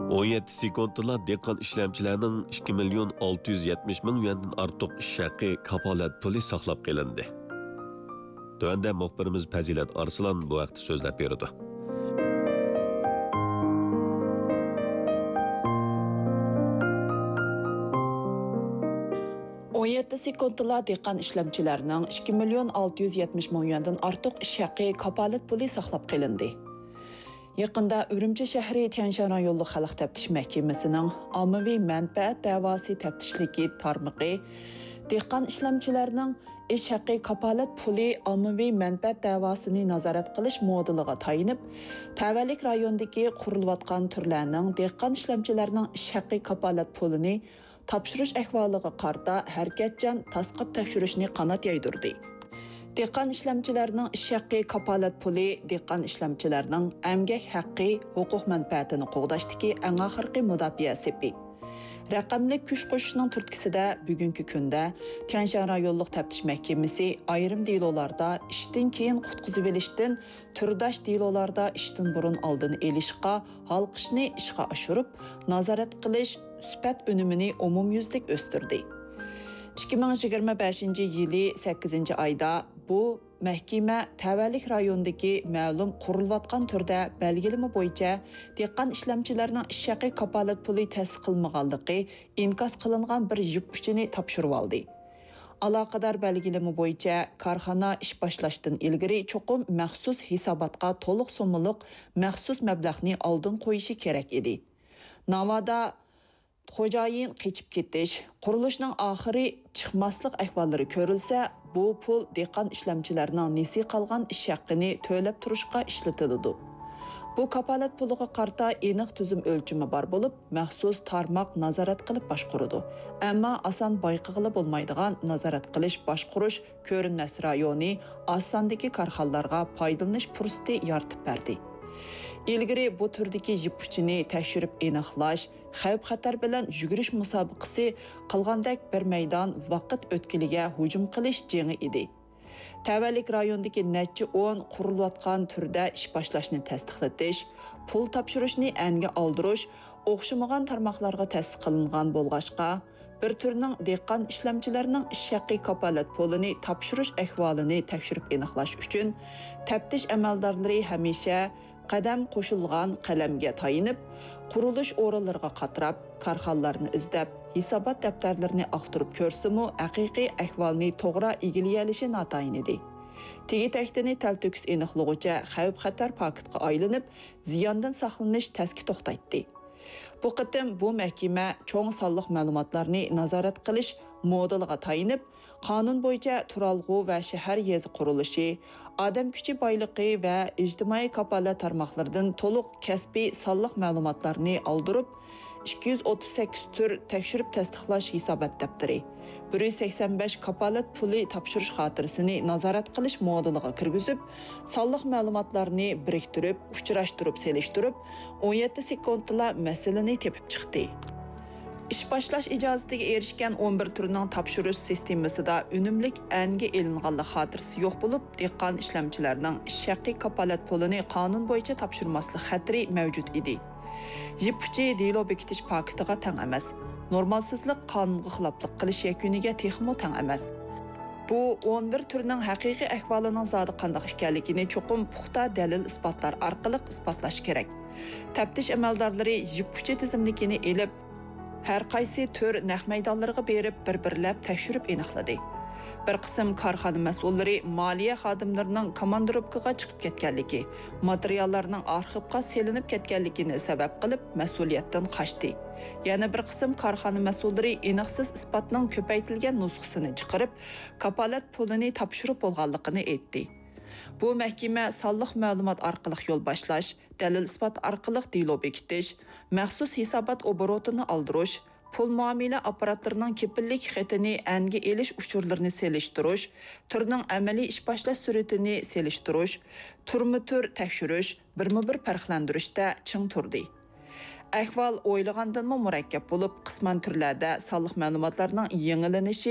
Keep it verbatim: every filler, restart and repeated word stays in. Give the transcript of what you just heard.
ئون يەتتە سېكۇنتتىلا دېھقان ئىشلەمچىلەرنىڭ ئىككى مىليون ئالتە يۈز يەتمىش مىڭ يۈەندىن ئارتۇق ئىش ھەققى كاپالەت پۇلى ساقلاپ قېلىندى. تۆۋەندە مۇخبىرىمىز پەزىلەت ئارسلان بۇ ھەقتە سۆزلەپ بېرىدۇ. ئون يەتتە سېكۇنتتىلا دېھقان ئىشلەمچىلەرنىڭ ئىككى مىليون ئالتە يۈز يەتمىش مىڭ يۈەندىن ئارتۇق ئىش ھەققى كاپالەت پۇلى ساقلاپ قېلىندى. يېقىندا ئۈرۈمچى شەھىرى تيەنشان رايونلۇق خەلق تەپتىش مەھكىمىسىنىڭ ئاممىۋى مەنپەئەت دەۋاسى تەپتىشلىكى تارمىقى دېھقان ئىشلەمچىلەرنىڭ ئىش ھەققى كاپالەت پۇلى ئاممىۋى مەنپەئەت دەۋاسىنى نازارەت قىلىش مودېلىغا تايىنىپ، تەۋەلىك رايوندىكى قۇرۇلۇۋاتقان تۈرلەرنىڭ دېھقان ئىشلەمچىلەرنىڭ ئىش ھەققى كاپالەت پۇلىنى تاپشۇرۇش ئەھۋالىغا قارىتا ھەرىكەتچان تاسقاپ تەكشۈرۈشنى قانات يايدۇردى. دېھقان ئىشلەمچىلەرنىڭ ئىش ھەققى كاپالەت پۇلى دېھقان ئىشلەمچىلەرنىڭ ئەمگەك ھەققى، ھوقۇق مەنپەئەتىنى قوغداشتىكى ئەڭ ئاخىرقى مۇداپىئە سېپى. رەقەملىك كۈچ قوشۇشنىڭ تۈرتكىسىدە بۈگۈنكى كۈندە تيەنشان رايونلۇق تەپتىش مەھكىمىسى ئايرىم دېلولاردا ئىشتىن كېيىن قۇتقۇزۇۋېلىشتىن، تۈرداش دېلولاردا ئىشتىن بۇرۇن ئالدىنى ئېلىشقا ھالقىشنى ئىشقا ئاشۇرۇپ، نازارەت قىلىش سۈپەت ئۈنۈمىنى ئومۇميۈزلۈك ئۆستۈردى. ئىككى مىڭ يىگىرمە بەشىنچى يىلى سەككىزىنچى ئايدا بۇ مەھكىمە تەۋەلىك رايونىدىكى مەلۇم قۇرۇلۇۋاتقان تۈردە بەلگىلىمە بويىچە دېھقان ئىشلەمچىلەرنىڭ ئىش ھەققى كاپالەت پۇلى تەسىس قىلمىغانلىقى ئىنكاس قىلىنغان بىر يىپ ئۇچىنى تاپشۇرۇۋالدى. ئالاقىدار بەلگىلىمە بويىچە، كارخانا ئىش باشلاشتىن ئىلگىرى چوقۇم مەخسۇس ھېساباتقا تولۇق سوممىلىق مەخسۇس مەبلەغنى ئالدىن قويۇشى كېرەك ئىدى. ناۋادا خوجايىن قېچىپ كېتىش، قۇرۇلۇشنىڭ ئاخىرى چىقماسلىق ئەھۋاللىرى كۆرۈلسە، بۇ پۇل دېھقان ئىشلەمچىلەرنىڭ نېسى قالغان ئىش ھەققىنى تۆلەپ تۇرۇشقا ئىشلىتىلىدۇ. بۇ كاپالەت پۇلىغا قارىتا ئېنىق تۈزۈم ئۆلچىمى بار بولۇپ، مەخسۇس تارماق نازارەت قىلىپ باشقۇرىدۇ. ئەمما ئاسان بايقىغىلى بولمايدىغان نازارەت قىلىش باشقۇرۇش كۆرۈنمەس رايونى ئاز ساندىكى كارخانىلارغا پايدىلىنىش پۇرسىتى يارىتىپ بەردى. ئىلگىرى بۇ تۈردىكى يىپ ئۇچىنى تەكشۈرۈپ ئېنىقلاش، خەۋپ-خەتەر بىلەن يۈگۈرۈش مۇسابىقىسى قىلغاندەك بىر مەيدان ۋاقىت ئۆتكىلىگە ھۇجۇم قىلىش جېڭى ئىدى. تەۋەلىك رايوندىكى نەچچە ئون قۇرۇلۇۋاتقان تۈردە ئىش باشلاشنى تەستىقلىتىش، پۇل تاپشۇرۇشنى ئەنگە ئالدۇرۇش ئوخشىمىغان تارماقلارغا تەسىس قىلىنغان بولغاچقا، بىر تۈرنىڭ دېھقان ئىشلەمچىلەرنىڭ ئىش ھەققى كاپالەت پۇلىنى تاپشۇرۇش ئەھۋالىنى تەكشۈرۈپ ئېنىقلاش ئۈچۈن تەپتىش ئەمەلدارلىرى ھەمىشە قەدەم قوشۇلغان قەلەمگە تايىنىپ، قۇرۇلۇش ئورۇنلىرىغا قاتراپ، كارخانىلارنى ئىزدەپ، ھېسابات دەپتەرلىرىنى ئاختۇرۇپ كۆرسىمۇ، ھەقىقىي ئەھۋالنى توغرا ئىگىلىيەلىشى ناتايىن ئىدى. تېگى-تەكتىنى تەلتۆكۈس ئېنىقلىغۇچە خەۋپ-خەتەر پاكىتقا ئايلىنىپ، زىياندىن ساقلىنىش تەسكە توختايتتى. بۇ قېتىم بۇ مەھكىمە چوڭ سانلىق مەلۇماتلارنى نازارەت قىلىش مودېلىغا تايىنىپ، قانۇن بويىچە تۇرالغۇ ۋە شەھەر يېزا قۇرۇلۇشى، ئادەم كۈچى بايلىقى ۋە ئىجتىمائىي كاپالەت تارماقلىرىدىن تولۇق كەسپىي سانلىق مەلۇماتلارنى ئالدۇرۇپ، ئىككى يۈز ئوتتۇز سەككىز تۈر تەكشۈرۈپ تەستىقلاش ھېسابات دەپتىرى، بىر يۈز سەكسەن بەش كاپالەت پۇلى تاپشۇرۇش خاتىرىسىنى نازارەت قىلىش مودېلىغا كىرگۈزۈپ، سانلىق مەلۇماتلارنى بىرىكتۈرۈپ، ئۇچراشتۇرۇپ سېلىشتۇرۇپ، ئون يەتتە سېكۇنتتىلا مەسىلىنى تېپىپ چىقتى. ئىش باشلاش ئىجازىتىگە ئېرىشكەن ئون بىر تۈرنىڭ تاپشۇرۇش سىستېمىسىدا ئۈنۈملۈك ئەنگە ئېلىنغانلىق خاتىرىسى يوق بولۇپ، دېھقان ئىشلەمچىلەرنىڭ ئىش ھەققى كاپالەت پۇلىنى قانۇن بويىچە تاپشۇرماسلىق خەتىرى مەۋجۇت ئىدى. يىپ ئۇچى دېلو بېكىتىش پاكىتىغا تەڭ ئەمەس. نورمالسىزلىق قانۇنغا خىلاپلىق قىلىش يەكۈنىگە تېخىمۇ تەڭ ئەمەس. بۇ ئون بىر تۈرنىڭ ھەقىقىي ئەھۋالىنىڭ زادى قانداق ئىكەنلىكىنى چوقۇم پۇختا دەلىل-ئىسپاتلار ئارقىلىق ئىسپاتلاش كېرەك. تەپتىش ئەمەلدارلىرى يىپ ئۇچى تىزىملىكىنى ئېلىپ، ھەر قايسى تۈر نەق مەيدانلىرىغا بېرىپ، بىر-بىرلەپ تەكشۈرۈپ ئېنىقلىدى. بىر قىسىم كارخانا مەسئۇللىرى مالىيە خادىملىرىنىڭ كاماندىروپكىغا چىقىپ كەتكەنلىكى، ماتېرىياللارنىڭ ئارخىپقا سېلىنىپ كەتكەنلىكىنى سەۋەب قىلىپ، مەسئۇلىيەتتىن قاچتى. يەنە بىر قىسىم كارخانا مەسئۇللىرى ئېنىقسىز ئىسپاتنىڭ كۆپەيتىلگەن نۇسخىسىنى چىقىرىپ، كاپالەت پۇلىنى تاپشۇرۇپ بولغانلىقىنى ئېيتتى. بۇ مەھكىمە سانلىق مەلۇمات ئارقىلىق يول باشلاش، دەلىل-ئىسپات ئارقىلىق دېلو بېكىتىش، مەخسۇس ھېسابات ئوبوروتىنى ئالدۇرۇش، پۇل مۇئامىلە ئاپپاراتلىرىنىڭ كېپىللىك خېتىنى ئەنگە ئېلىش ئۇچۇرلىرىنى سېلىشتۇرۇش، تۈرنىڭ ئەمەلىي ئىش باشلاش سۈرئىتىنى سېلىشتۇرۇش، تۈرمۇ تۈر تەكشۈرۈش، بىرمۇ بىر پەرقلەندۈرۈشتە چىڭ تۇردى. ئەھۋال ئويلىغاندىنمۇ مۇرەككەپ بولۇپ، قىسمەن تۈرلەردە سانلىق مەلۇماتلارنىڭ يېڭىلىنىشى،